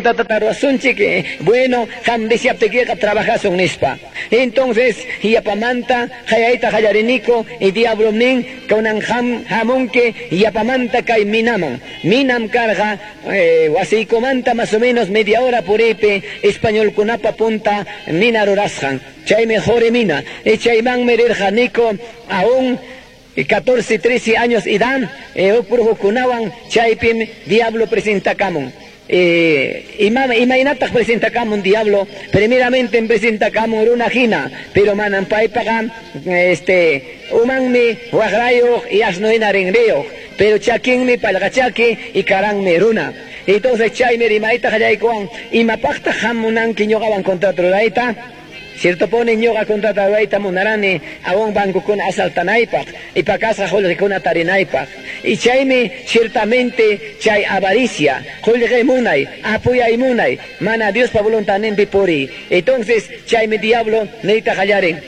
Tata ruwasunchik, bueno, qam deseaptikiqa trabajasun nispa. Entonces, yapamanta qayayta qallariniku y diablom nin, kunan qam hamunki yapamanta kay minaman. Minam karqa wasiykumanta más o menos media hora puriypi españolkunapa punta mina rurasqan. Chaymi quri mina. Y chaymanmi rirqaniku aún 14, 13 años edad, huk brujokunawan, chaypim diablo presentakamun. Imaynataq presentakamun diablo? Primeramente presentakamun runa hina, pero manam paypaqa umanmi waqrayuq y asno hina rinriyuq, pero chakinmi pallqachaki y karanmi runa. Entonces chaymi rimayta qallaykuwan, imapaqtaq qam munanki ñuqawan contrato rurayta? Cierto pone ñuqa contrato rurayta munarani aún bancokuna asaltanaypaq y pakasqa qullqikuna tarinaypaq. Y chaymi ciertamente chay avaricia, qullqi munay, apuyay munay, mana Diospa voluntadninpi puriy. Entonces chaymi diablo niyta qallarin.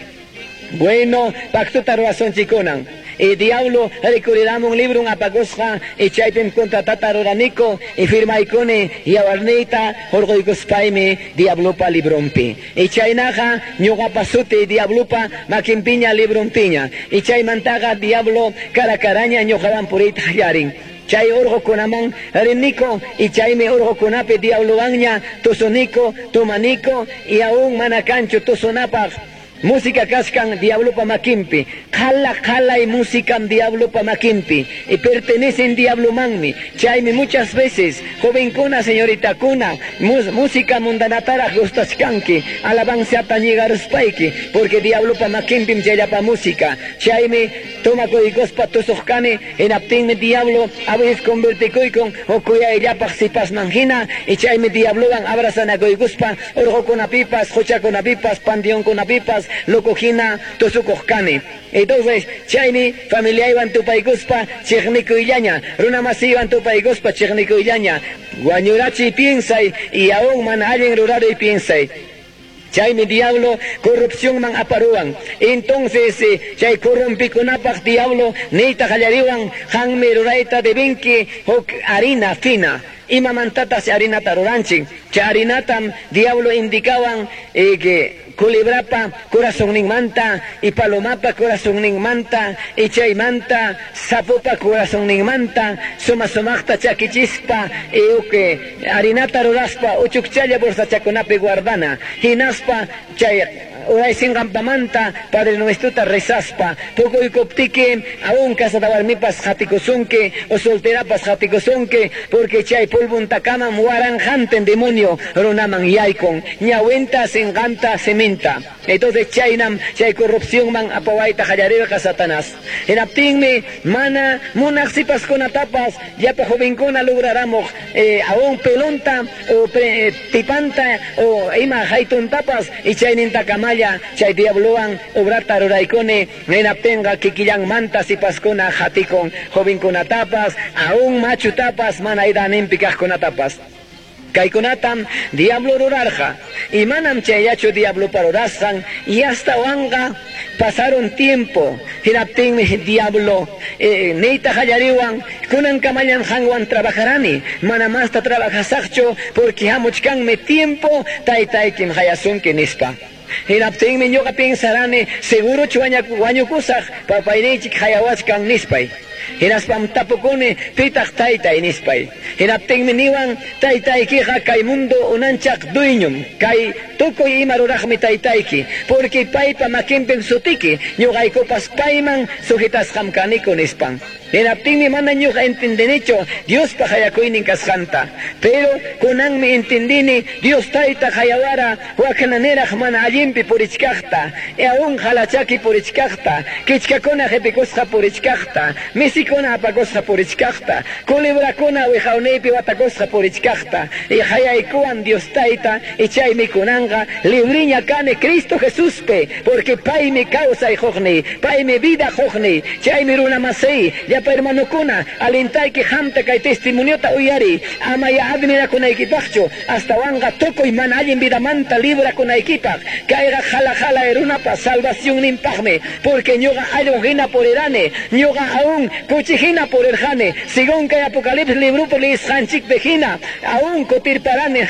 Bueno, pactota ruwasunchikunan. Y diablo rikuriramun librun apakusqa y chaypim contratata ruraniku y firmaykuni yawarniyta hurquykuspaymi diablopa librunpi. Y chaynaqa ñuqapa suti diablopa makinpiña librunpiña. Y chaymantaqa diablo cara caraña ñuqawan puriyta qallarin. Chay urqukunaman riniku y chaymi urqukunapi diablowanña tusuniku, tumaniku y aún mana kanchu tusunapaq. Música kachkan diablopa makinpi, qhala qalay musicam diablopa makinpi y pertenecen diablomanmi. Chaymi muchas veces jovenkuna, señoritakuna, música mundanataraq gustachkanki, alabanzata ñigaruspayki, porque diablopa makinpim chayllapa música. Chaymi tomakuykuspa tusuqkani, hinaptinmi diablo a veces convertikuykun huk kuyayllapaq sipasman hina, y chaymi diablowan abrazanakuykuspa urqukunapipas, quchakunapipas, panteonkunapipas loco hina tusukuq kani. Entonces, chaymi familiaywan tupaykuspa chiqnikuyllaña, runa masiywan tupaykuspa chiqnikuyllaña, wañurachiy piensay y aún mana allin ruraruy piensay. Chaymi diablo corrupcionman aparuwan. Entonces, chay corrompikunapaq diablo niyta qallariwan, qanmi rurayta debinki huk harina fina. Imamantataq harinata ruranchik? Chay harinatam diablo indicawan que culebrapa corazonninmanta y palomapa corazonninmanta y chaymanta sapopa corazonninmanta suma sumaqta chakichispa y huk harinata ruraspa uchukchalla bolsachakunapi guardana. Hinaspa chay uraysinqanpamanta Padre Nuestrota rezaspa pukuykuptiki aún casada warmipas qatikusunki o solterapas qatikusunki, porque chay polvuntakamam waranqantin demonio runaman yaykun ñawinta sinqanta siminta. Entonces chaynam chay corrupcionman apawayta qallarirqa Satanás. Hinaptinmi mana munaq sipaskunatapas llapa jovenkuna lograramuq aún pelonta o tipanta o ima haytuntapas y chaynintakamalla chay diablowan obrata ruraykuni. Hinaptinqa kikillanmanta sipaskuna qatikun jovenkunatapas aún machutapas mana edaninpi kaqkunatapas. Kaykunatam diablo rurarqa y manam chayllachu diablopa rurasqan y hasta wanqa pasaron tiempo. Hinaptinmi diablo niyta qallariwan, kunankamallam qanwan trabajarani, mana masta trabajasaqchu porque hamuchkanmi tiempo taytaykim qayasunki nispa. Hinaptinmi ñuqa pensarani segurochu wañukusaq papayninchik qayawachkan nispay. Hinaspam tapukuni pitaq taytay nispay. Hinaptinmi niwan taytaykiqa kay mundo unanchaq dueñom, kay tukuy ima ruraqmi taytayki, porque paypa makinpim sutiki, ñuqaykupas payman sujetasqam kaniku nispan. Hinaptinmi mana ñuqa entendinichu Diospa qayakuynin kasqanta, pero kunanmi entendini Dios tayta qayawara waknaniraq mana allinpi purichkaqta, y aún qalachaki purichkaqta, kichkakuna qipikusqa purichkaqta, misikuna apakusqa purichkaqta, culebrakuna wiqawniypi watakusqa purichkaqta, y qayaykuwan Dios tayta, y chaymi kunanqa libriña kani Cristo Jesuspi, porque paymi kawsay quqniy, paymi vida quqniy, chaymi runa masiy, llapa hermanokuna, alintayki qamta kay testimoniota uyariy, amaya admirakunaykipaqchu, astawanqa tukuy mana allin vidamanta librakunaykipaq, kayqa qhala qhala runapa salvacionninpaqmi, porque ñuqa allqu hina purirani, ñuqa aún Kuchi hina purirqani. Según kay Apocalipsis librupi leesqanchikpi hina, aún kutirparani.